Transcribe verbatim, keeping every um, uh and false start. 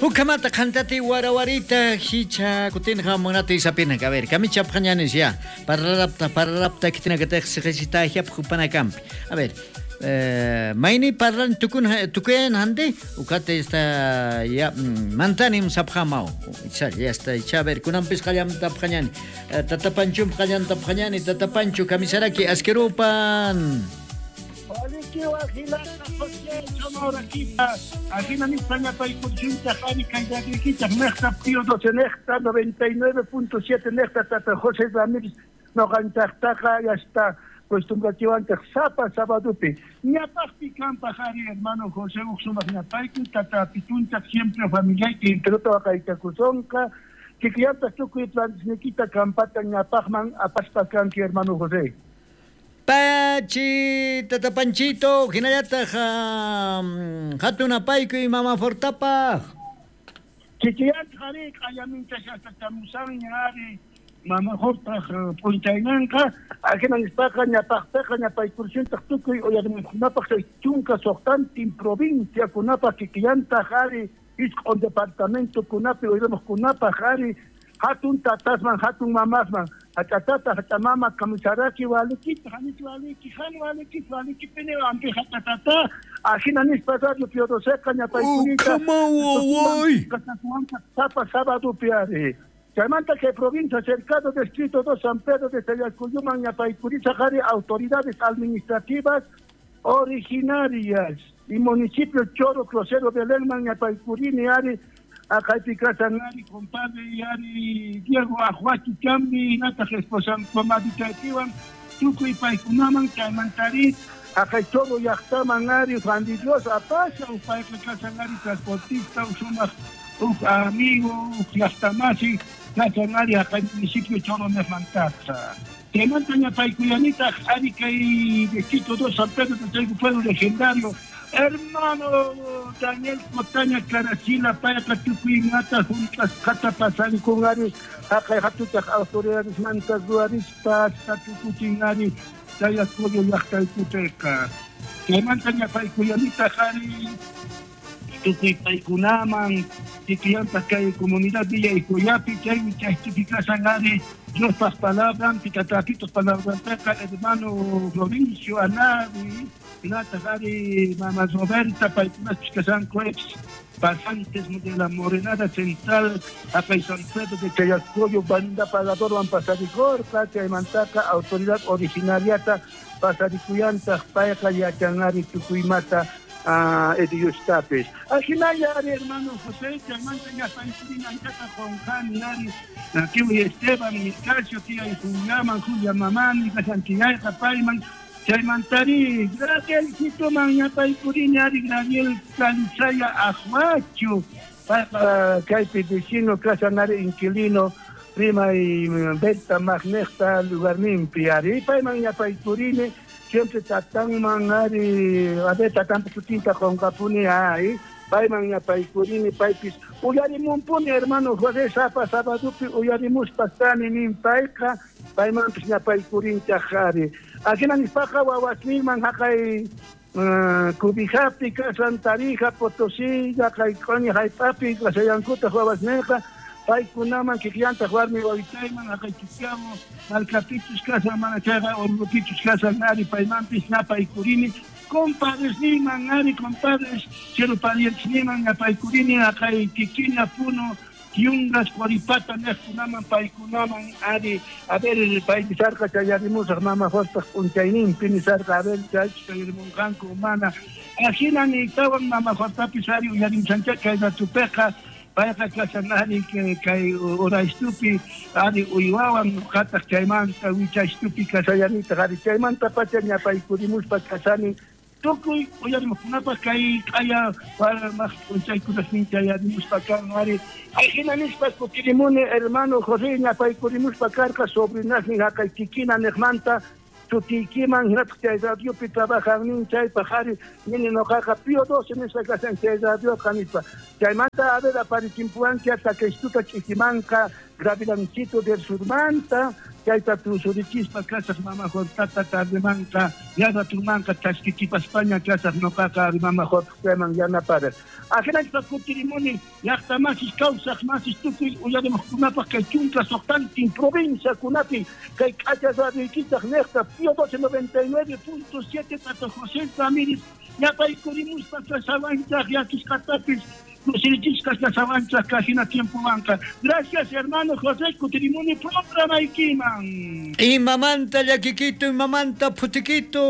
Ukamata qantati warawarita hicha kutinqa munati isapina a ver kamicha phañanis ya parlarapta parlarapta kitina kataq siqisita hiap hupanakampi a ver eh, mayni parlan tukun tukuyan hande ukate esta ya mantanim saphamao icha ya está icha a ver kunanpis qallamta phañani tata Panchum qallanta phañani tata Pancho kamisaraki askerupan. noventa y nueve punto siete Tata José Ramírez noqanchaqtaqa ya está costumbrachiwanchaq sapa sabadupi ñapaqpi kanpaq ari hermano José uqsumaq ñapayku tata pitunchaq siempre familiayki enterota waqaychakusonqa kikillantaq tukuy plantisniykita kampata ñapaqman apaspa kanki hermano José. Pachi, Tata Panchito, hinallataq hatun apayku y mama Fortapaq. Kikillantaq ari q'ayaminchashaqtamusanña ari mama Fortaq p'unchaynanqa ajina nispaqa ñapaqpiqa ñapaykursuntaq tukuy uyarimuqkunapaq chay chunka suqtantin provinciakunapaq kikillantaq ari isq'un departamentokunapi uyarimuqkunapaq ari hatun tatasman hatun mamasman hachatata hachamama kamisaraki walikita hanich waliki han waliki waliki pini ampi hatatata ajina nispa radio Pío Doceqa ñapaykunita sapa sábado piari chaymanta que provincia cercado distrito dos San Pedro de Chayacuyuman ñapaykurisa qari autoridades administrativas originarias y municipio Choro Crucero Belenman ñapaykurini ari akaypi kasan ari compadre y ari Diego Ajuachi Chambi nataq esposan comaditaypiwan tukuy paykunaman chaymantari akay Choro llaqtaman ari Juan de Dios apasha payqa kasan ari transportista sumaq uk amigo uk llaqtamasi kasan ari akay municipio Choro nejmantaqa chaymanta ñapaykuyanitaq ari kay distrito dos San Pedro de Chayku pueblo legendario hermano Daniel Cotaña Carachila payqa tukuymata junt'asqata pasankun ari haqay hatutaq autoridades manta ruwarispa tukuchin ari Chayacoyo llaqtaykupiqa chaymanta ñapaykuyanitaq ari tukuy paykunaman kikillantaq kay comunidad Villa Icoyapi chaymi chaypipi kasan ari Diospaq palabranpi tatapitos palabranpiqa hermano Florencio Anavi hinataq ari mama Roberta paykunaspis kasanku ex pasantes de la Morenada Central haqay San Pedro de Chayacoyo banda pagadorwan pasarikurqa chaymantaqa autoridad originariata pasarikuyantaq payqa yachanari tukuymata ediyustapis ajinalla ari hermano José chaymanta ñapaykurina anchata qunqani ari kiwi Esteban Nicasio tiyay Juliaman Julia mamani kasankillayqa payman chaymantari Gracielcitoman ñapaykurini ari Graciel Calizaya Ajuachu payqa kaypi vecino kasan ari inquilino rimay Berta Magnejta lugarninpi ari payman ñapaykurini siempre tatanman ari a ver tatanpa sutinta qunqapuni ay payman ñapaykurini paypis uyarimunpuni hermano José sapa sabadupi uyarimuspa kani nin payqa paymanpis ñapaykurinchaq ari ajina nispaqa wawasninman haqay Cubijapi kasan Tarija Potosí haqay q'uñi hallp'api kasallankutaq wawasninqa paykunaman kikillantaq warmi wawitayman haqay Chiquiamo markapichus kasan mana chayqa Orlopichus kasan ari paymanpis ñapaykurini compadresninman ari compadres cielo parientesninman ñapaykurini haqay Kikiña Puno Yungas Cuaripata nejkunaman paykunaman ari a ver paynisarqa chayarimusaq mama Jorpaq p'unchayninpi nisarqa a ver chaychus chayarimunqanku mana ajina niytawan mama Jortapis ari uyarimsanchá kay ratupiqa payqa kasan ari kay uraystupi ari uywawan ñuqataq chaymanta wichaystupi kasallanitaq ari chaymantapacha ñapaykurimuspa kasani tukuy uyarimuqkunapaq kay q'aya warmaq p'unchaykunasnin chayarimuspa kan ari ajina nispa kutirimuni hermano José ñapaykurimuspa karqa sobrinasnin haqay Kikina nejmanta sutiykiman hinataq chay radiopi trabajannin chaypaq ari nini noqaqa Pío doce nispa kasan chay radioqa nispa chaymanta a ver aparichinpuwanki hasta kaystuta ch'ikimanqa Gavilancito del Surmanta, chayta tusurichispa kasaq mama Jortata tardemanqa, yarratunmanqa chaskichipaspaña kasaq noqaqa mama Jortaman yanapara. Ajinachpa kutirimuni llaqta masis kawsaq masis tukuy uyarimuqkunapaq kay chunka suqtantin provinciakunapi kay k'acha radioykichaq niqta Pío doce noventa y nueve punto siete Tata José Ramírez ñapaykurimuspa kasawanchaq yachisqatapis kusirichisqas kasawanchaq kajina tiempowanqa. Gracias hermano José, kutirimuni programaykiman. Imamanta llakikitu, imamanta phutikitu.